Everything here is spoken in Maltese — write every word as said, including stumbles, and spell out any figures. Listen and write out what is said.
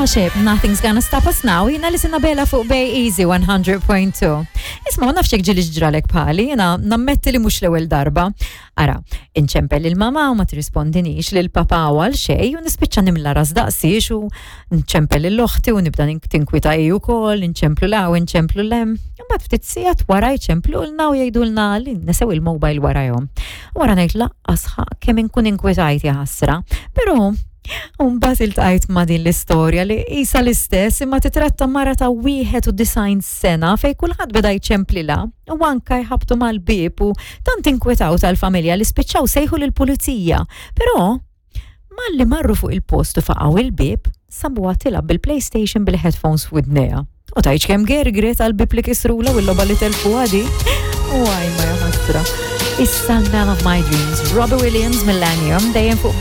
Starship, Nothing's Gonna Stop Us Now, jiena li Sinabela fuq Bay Easy one hundred point two. Isma', ma nafx ġieli ġralek bħali, jiena nammetti li mhux l-ewwel darba. Ara, inċempel il-mama u ma tirrispondinix, lil papa u għal xej u nispiċċa nimla ras daqsiex u nċempel l-oħti u nibda tinkwita hi wkoll, inċemplu 'l hawn, inċemplu 'l hemm. Imbagħad ftit sigħat wara jċemplulna u jgħidulna li nesew il-mobile warajhom. Wara ngħid laqqas kemm inkun inkwetajt, jaħasra. Però mbagħad iltqajt ma' din l-istorja li isa l-istess, imma titratta mara ta' wieħed u disgħin sena fej kulħadd beda jċemplilha u anka jħabtu mal-bieb u tant inkwetaw tal-familja li spiċċaw sejħu lill-pulizija. Però malli marru fuq il-post u faqgħu il-bieb, sabuha tilgħab bil-PlayStation bil-headphones f'widnejha. U tgħidx kemm gergret għal-bieb li kisrula u l-logħba li telfu għadi. U għaj ma jaħasra. Issa Man of My Dreams, Robbie Williams, Millennium, dejjem fuq